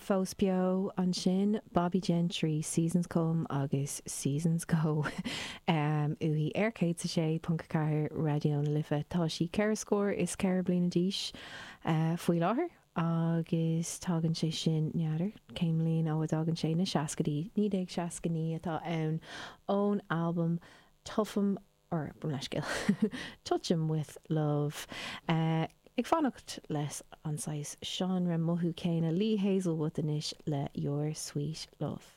Fós beo ansin, Bobbie Gentry, Seasons Come agus Seasons Go uaithi ar 106.4 Raidió na Life. Tá sí ceithre scór is 4 bliana d'aois faoi láthair agus tagann sé sin, n'fheadar cén mbliain ó a dtagann sé, na seascaidí, 1969 atá ann, ón albam Tough'em or mo leithscéal, Touch 'Em With Love. Ag fanacht leis an saghas seánra mothú céanna, Lee Hazlewood anois le Your Sweet Love.